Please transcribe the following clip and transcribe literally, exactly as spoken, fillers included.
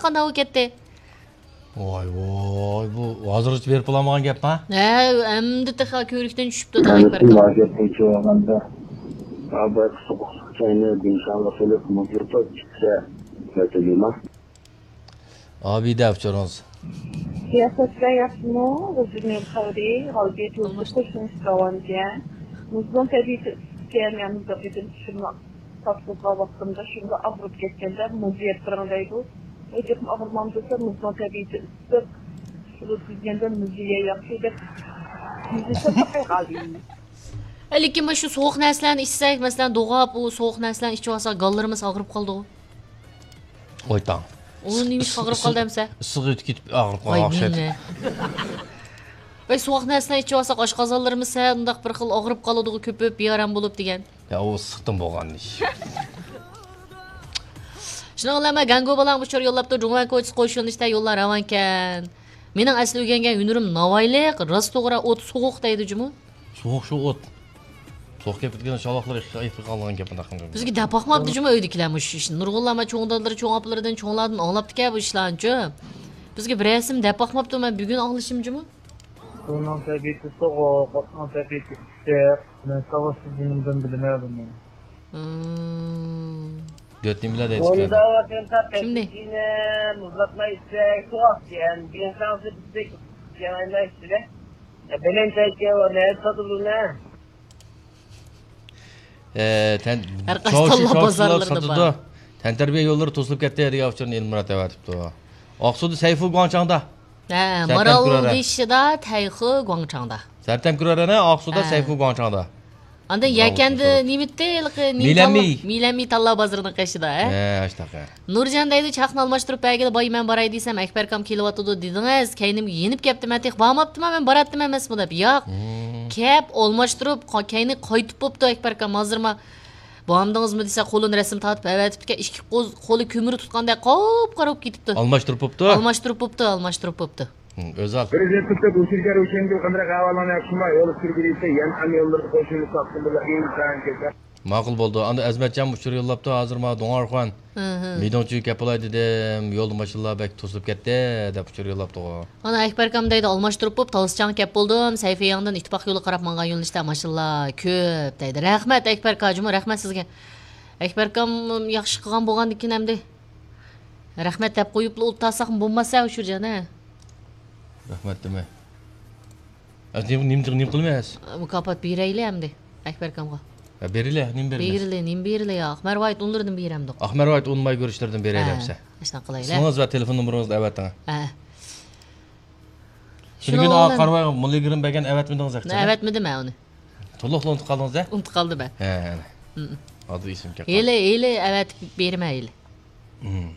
قانداق بولۇپ كەتتى؟ ۋاي، ۋاي، بۇ ھازىرغىچە بېرىپ بولالمىغان گەپما؟ ھە، ئەمدى تېخى كۆۋرۈكتىن چۈشۈپتۇ، تاڭ ئەكبەر ئاكا. گەپ بويىچە ئالغاندا، بۇ سوغۇقلۇق چاينى بىنشانغا سېلىپ، مۇز يۇتۇپ ئىچسە، نەتىجە. ئابىدە ئۇچۇرىڭىز. سىياسەتچىلەر ياخشىمۇ؟ غۇلجىنىڭ خەۋىرى، غەلىبىيە تۇيغۇسى قوشۇلۇش داۋامكەن. مۇزنىڭ تەبىئىتى ئىسسىقكەن، يەنە مۇزدا قېتىم چۈشۈمنى تاپشۇرغان ۋاقتىمدا شۇنداق ئاغرىپ كەتكەندە، مۇز يەپ بېرىڭ دەيدۇ. ئۆزۈم ئاغرىمام دېسە، مۇزنىڭ تەبىئىتى ئىسسىق، شۇلۇ تۈزگەندە مۇز يېگەن ياخشى دەپ، مۇز يېسە ساقايغالدى. لېكىن مانا شۇ سوغۇق نەرسىلەرنى ئىچسەك، مەسىلەن، دوغاپ، ئۇ سوغۇق نەرسىلەرنى ئىچىۋالسا، گاللىرىمىز ئاغرىپ قالىدىغۇ. ۋاي تاڭ. ئۇ نېمىشقا ئاغرىپ قالدى ئەمسە؟ ئىسسىقى ئۆتۈپ كېتىپ ئاغرىپ قالغان ئوخشايدۇ. ۋاي، سوغۇق نەرسىلەرنى ئىچىۋالساق، ئاشقازانلىرىمىز سەل ئۇنداق بىر خىل ئاغرىپ قالىدىغۇ، كۆپۈپ، بىئارام بولۇپ دېگەن. يا، ئۇ ئىسسىقتىن بولغان ئىش. شۇنىڭ بىلەن مەن گەڭگو بالاڭ ئۇچۇر يوللاپتۇ، جۇڭۋەن كوچىسى قوشۇنىشتا يوللار راۋانكەن. مېنىڭ ئەسلى ئۆگەنگەن ھۈنىرىم ناۋايلىق، راست توغرا ئوت سوغۇق دەيدۇ جۇمۇ. سوغۇق شۇ ئوت. سوغۇق كېلىپ كەتكەن شاۋاقلار ئېقىپ قالغان گەپ، ئۇنداق قىلغان. بىزگە دەپ باقماپتۇ جۇمۇ ئۆيدىكىلەرمۇ شۇ ئىشنى. نۇرغۇنلار مانا چوڭ دادىلىرى، چوڭ ئاپىلىرىدىن، چوڭلاردىن ئاڭلاپتىكەن بۇ ئىشلارنىچۇ. بىزگە بىر رەسىم دەپ باقماپتۇ، مەن بۈگۈن ئاڭلىشىم جۇمۇ. سۇنىڭ تەبىئىتى سوغۇق، ئوتنىڭ تەبىئىتى ئىسسىق. مەن ساۋاتسىز جېنىمدىن بىلىمەن بۇنى. مم. دۆت نېمىلەر دەيدىكەن؟ كىمنى؟ مۇزلاتماي ئىچسەك سوغۇقكەن، بىنشانسى بىزدەك يالايماي ئىچىدە. بەلەن چايكەن، نەدە ساتىدۇ نە؟ ئە، تەن-، ھەر قايسى شاۋشى-، تاللا شاۋشىلار بازارلىرىدا ساتىدۇ. بار. تەنتەربىيە يوللىرى توسۇلۇپ كەتتى دېگەن ئۇچۇرنى ئېلمۇرات ئەۋەتىپتۇ. ئاقسۇدا سەيفۇ گۇاڭچاڭدا. ھە، سەتەن مارال كۆرەرە. دېيىشىدا تەيخۇ گۇاڭچاڭدا. سەتەن كۆرەرەنە، ئاقسۇدا ھە. سەيفۇ گۇاڭچاڭدا. ئاندىن بىراۋ يەكەندە تۇرسا. نېمىتتى، ھېلىقى نېمە مىلەنمى. تاللا، مىلەنمى تاللا بازىرىنىڭ قېشىدا، ھە؟ ھە، ئاشتاق، ھە. نۇرجان دەيدۇ، چاقنى ئالماشتۇرۇپ بەرگىلى باي، مەن باراي دېسەم، ئەكبەركام كېلىۋاتىدۇ دېدىڭىز، كەينىمگە يېنىپ كەپتىمەن، تېخى بارماپتىمەن، مەن باراتتىم ئەمەسمۇ دەپ. ياق، مم. كەپ ئالماشتۇرۇپ، قا-، كەينى قايتىپ بوپتۇ ئەكبەركام، ھازىرما بارمىدىڭىزمۇ دېسە، قولىنى رەسىم تارتىپ ئەۋەتىپتىكەن، ئىككى قوز-، قولى كۆمۈر تۇتقاندەك قاپقارا بولۇپ كېتىپتۇ. ئالماشتۇرۇپ بوپتۇ؟ ئالماشتۇرۇپ بوپتۇ، ئالماشتۇرۇپ بوپتۇ. ھم، ئۆزى ئال. بىر ئىزدىن پۇرسەت ئۇچۇركەن روشەنگۈل قانداق ئەھۋالىڭ ياخشىما؟ يول سۈرگۈلۈكتە يەنئەن يوللىرىدا قوشۇلۇپ ساقچىلار ئىنسان كېسەل. ماقۇل بولدى. ئاندىن ئەزمەتجانمۇ ئۇچۇر يوللاپتۇ، ھازىر ماڭا دوڭارخان. ھە، ھە. مىدىڭچىگە كەپ بولاي دېدىم، يولدا ماشىنىلار بەك توسۇلۇپ كەتتى، دەپ ئۇچۇر يوللاپتىغۇ. ئانا ئەكبەركام دەيدۇ، ئالماشتۇرۇپ بوپ، تالىسىچاڭغا كەپ بولدۇم، سەيفىياڭدىن ئىتتىپاق يولىغا قاراپ ماڭغان يۆنىلىشتە ماشىنىلار كۆپ دەيدۇ. رەھمەت ئەكبەركا، جۇمۇ رەھمەت سىزگە. ئەكبەركام ياخشى قىلغان بولغاندىكىن ئەمدى. رەھمەت دەپ قويۇپلا ئولتۇرساقمۇ بولماسا، ئۇچۇرجان، ھە؟ رەھمەت دېمە. ئە، نېمە، نېمە، نېمە قىلىمىز؟ مۇكاپات بېرەيلى ئەمدى، ئەكبەركامغا. ئە، بېرىلە، نېمە بېرىمىز؟ بېرىلى، نېمە بېرىلى يا؟ ئاقمەر ۋايىت ئۇنلىرىدىن بېرەمدۇق. ئاقمەر ۋايىت ئۇنماي كۆرۈشلىرىدىن بېرەيلى ھە، ئەمسە. ئاشۇنداق قىلايلى. ئىسمىڭىز ۋە تېلېفون نومۇرىڭىزنى ئەۋەتىڭ. ھە. شۇنىڭ بىلەن قارىۋاي، مۇللىگىرىم بەرگەن ئەۋەتمىدىڭىز ياقچى. ئەۋەتمىدىم مەن ئۇنى. تولۇقلا ئۇنتۇپ قالدىڭىز ھە؟ ئۇنتۇپ قالدىم مەن. ھە، ھە. مم. ھازىر ئېسىمگە كەپ قالدى. ھېلى، ھېلى ئەۋەتىپ بېرىمەن ھېلى. مم.